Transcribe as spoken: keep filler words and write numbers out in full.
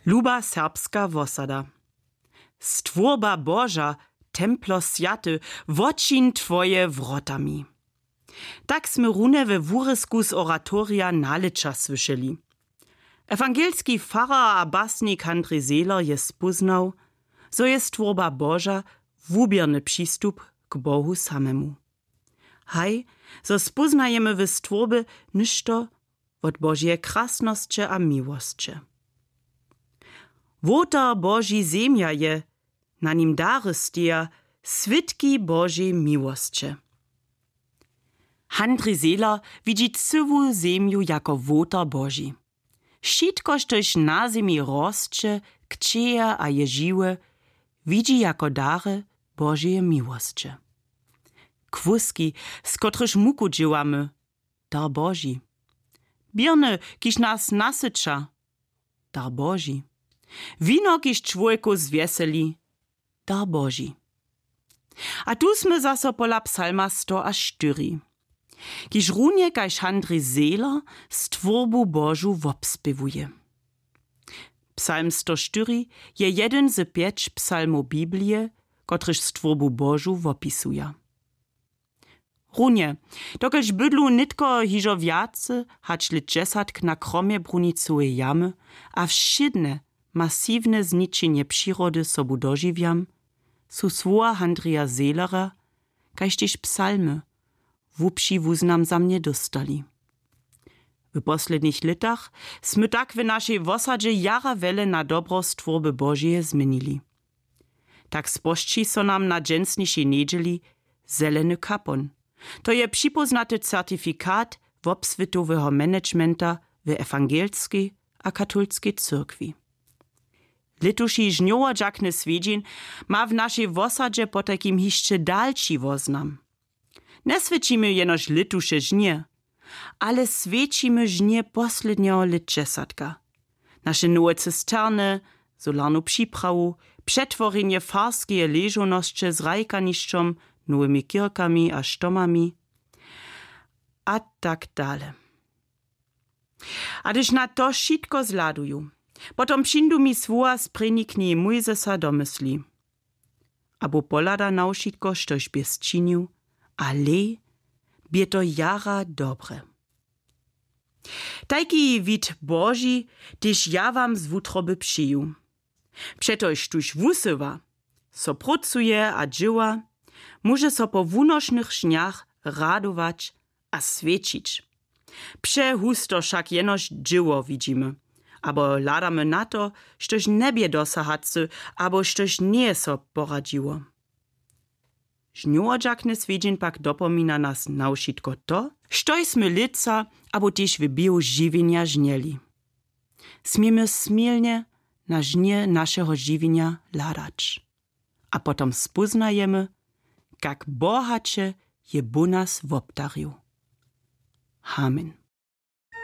Luba serbska wosada. Stwórba Boža, templo swjaty, wočiń twoje wrotami. Tak smy runje we wurězku z oratorija Nalěća słyšeli. Ewangelski farar a basnik Handrij Zehler je spóznał, zo je stwórba Boža wuběrny přistup k Bohu samemu. Haj, zo spóznajemy w stwórbje něšto wot Božeje krasnosće a miłosće. Wołtar Boži zemja je, na nim dary steja, swědki Božej miłosće. Handrij Zehler widźi cyłu zemju jako wołtar Boži. Wšitko, štož na zemi rosće, kćeje a je žiwe, widźi jako dary Božeje miłosće. Kłuski, z kotrychž muku dźěłamy, dar Boži. Běrny, kiž nas nasyća, dar Boži. Wino, kiž čłowjekow zwjeseli, dar Boži. A tu smy zaso pola psalma sto a štyri, kiž runje kaž Handrij Zehler stwórbu Božu wobspěwuje. Psalm sto štyri je jedyn z pjeć psalmow Biblije, kotryž stwórbu Božu wopisuja. Runje, dokelž bydlu nětko hižo wjace hač lětdźesatk na kromje Brunicoweje jamy a wšědne masiwne zničenje přirody sobu dožiwjam, su słowa Handrija Zehlera, kaž tež psalmy, hłubši wuznam za mnje dóstali. W poslednich lětach smy tak w našej wosadźe jara wjele na dobro stwórby Božeje změnili. Tak spožči so nam na dźensnišej njedźeli zeleny kapon. To je připóznaty certifikat wobswětoweho managementa w ewangelskej a katolskej cyrkwi. Lětuši žnjowodźakny swjedźeń ma w našej wosadźe potajkim hišće dalši woznam. Njeswěćimy jenož lětuše žnje, ale swěćimy žnje poslednjeho lětdźesatka. Naše nowe cysterny, solarnu připrawu, přetworjenje farskeje ležownosće z hrajkanišćom, nowymi kirkami a štomami a tak dale. A hdyž na to wšitko zhladuju, potom přińdu mi słowa z prěni knihi Mójzesa do mysli. Abo pohlada na wšitko, štož bě sčinił, a hlej, bě to jara dobre. Tajki wid Boži tež ja wam z wutroby přeju. Přetož štóž wusyła, so prócuje a dźěła, móže so po wunošnych žnjach radować a swěćić. Přehusto wšak jenož dźěło widźimy, abo hladamy na to, štož njebě dosahacy abo štož njeje so poradźiło. Žnjowodźakny swjedźeń pak dopomina nas na wšitko to, štož smy lětsa abo tež w běhu žiwjenja žnjeli. Směmy smilnje na žnje našeho žiwjenja hladać. A potom spóznajemy, kak bohaće je Bóh nas wobdarił. Amen.